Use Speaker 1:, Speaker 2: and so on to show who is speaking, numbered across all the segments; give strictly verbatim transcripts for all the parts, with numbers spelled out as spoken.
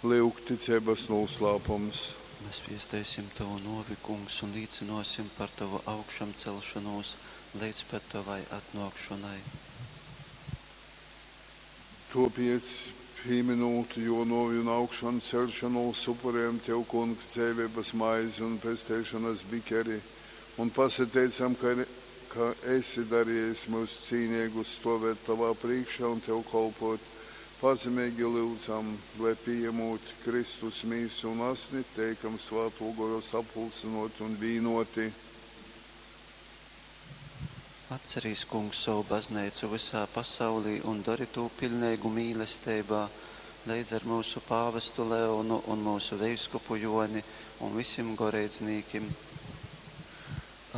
Speaker 1: Lyuk, ticeibas nūslāpums.
Speaker 2: Mēs viesteisim Tovu nōvi, Kungs, un līcynōsim par Tovu augšamcelšonūs leidz pat Tovai atnōkšonai.
Speaker 1: Tōpēc, pīmynūt Jō nōvi un augšanceļšonūs, upurejam Tev, Kungs, dzeiveibas maizi un pesteišonas bikeri un pasateicam, ka, ka esi darejis myus cīneigus stōvēt Tovā prīškā un Tev kolpōt. Pazemeigi lyudzam, lai, pījamūt Kristus Mīsu un Asni, teikam Svātō Gora sapulcynōti un vīnōti.
Speaker 2: Atcerīs, Kungs, sovu bazneicu vysā pasaulī un dori tū piļneigu mīlesteibā, leidz ar myusu pāvestu Leonu un myusu veiskupu Jōni un visim goreidznīkim.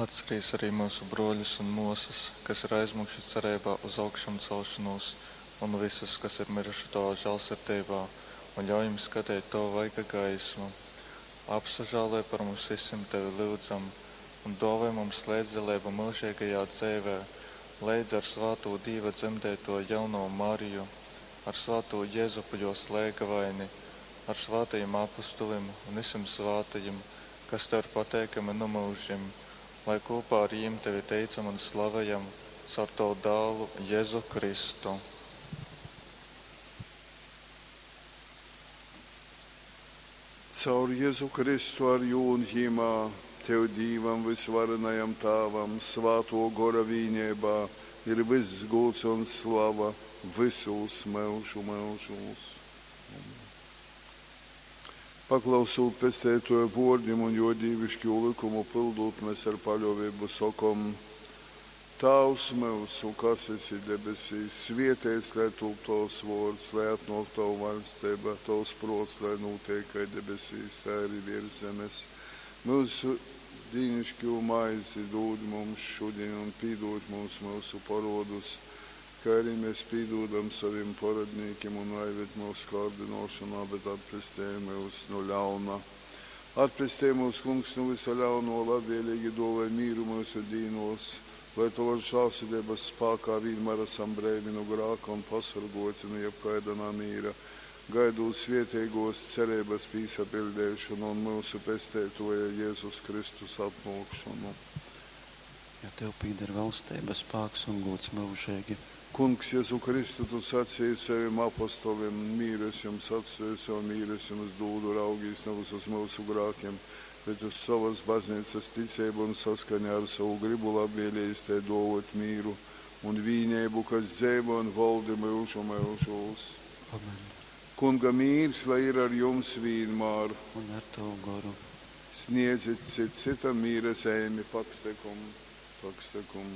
Speaker 3: Atcerīs arī myusu brōļus un mōsas, kas ir aizmygši cereibā uz augšamcelšonūs, un vysus, kas ir myruši Tovā žālsirdeibā, un ļauj jim skateit Tova vaiga gaismu. Apsažāloj par mums vysim, Tevi lyudzam, un dōvoj mums leidzdaleibu myužeigajā dzeivē, leidz ar svātū Dīva dzemdeitoju jaunovu Mariju, ar svātū Jezupu jōs leigavaini, ar svātajim apustulim un vysim svātajim, kas Tev ir pateikami nu myužim, lai kopā ar jīm Tevi teicam un slavejam caur Tavu dālu Jezu Kristu.
Speaker 1: Caur Jezu Kristu ar jū un jimā, Tev, Dīvam vysvarenajam Tāvam, Svātō Gora vīneibā ir vyss gūds un slava vysūs myužu myužūs. Paklausūt Pesteitōja vōrdim un jō dīviškū lykumu pyldūt, mes ar paļōveibu sokom: Tāvs myusu, kas esi debesīs, svieteits lai tūp tovs vōrds, lai atnōk tova vaļsteiba, tovs prōts, lai nūteik kai debesīs, tai arī viers zemes. Myusu dīniškū maizi dūd mums šudiņ un pīdūd mums myusu porōdus, kai arī mēs pīdūdam sovim porōdnīkim, un naived myusu kārdynōšonā, bet atpestej myus nu ļauna. Atpestej myus, Kungs, nu vysa ļaunō, labvēlīgi dōvoj mīru myusu dīnōs, lai tovas žālsirdeibas spākā vīnmār esam breivi nu grāka un pasorgōti nu jebkaida namīra, gaidūt svēteigōs cereibas pīsapiļdeišonu un myusu Pesteitōja Jezus Kristus atnōkšonu.
Speaker 2: Jo Tev pīder valsteiba, spāks un gūds myužeigi.
Speaker 1: Kungs Jezu Kristu, Tu saceji sovim apostolim: Mīru es jums atstōju, sovu mīru es jums dūdu, raugīs navys uz myusu grākim, bet uz sovas bazneicas ticeibu un saskaņā ar sovu grybu labvēlejīs tai dōvōt mīru un vīneibu, kas dzeivoj un voldi myužu myužūs.
Speaker 2: Amen.
Speaker 1: Kunga mīrs lai ir ar jums vīnmār.
Speaker 2: Un ar Tavu goru.
Speaker 1: Sniedzit cits cytam mīra zeimi. Pax tecum, pax tecum.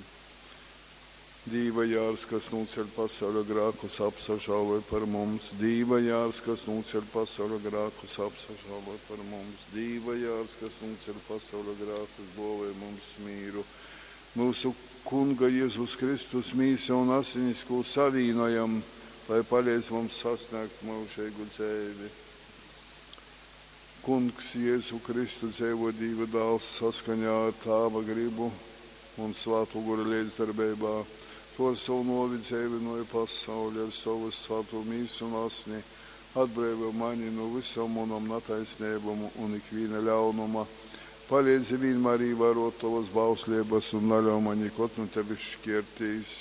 Speaker 1: Dīva jārs, kas nūceļ pasauļa grākus, apsažāloj par mums. Dīva jārs, kas nūceļ pasauļa grākus, apsažāloj par mums. Dīva jārs, kas nūceļ pasauļa grākus, dōvoj mums mīru. Myusu Kunga Jezus Kristus mīsa un asinis, kū savīnojam, lai paleidz mums sasniegt myužeigu dzeivi. Kungs Jēzu Kristu dzeivo Dīva dāls saskaņā ar Tāva gribu un Svātō Gora leidzdarbeibā. Tu ar sovu nōvi dzeivynōji pasauli, ar sovu svātū mīsu un asni atbreivoj mani nu vysom munom nataisneibom un ikvīna ļaunuma. Paleidzi vīnmār īvārōt tovas bausleibas un naļauj maņ nikod nu tevis škiertīs.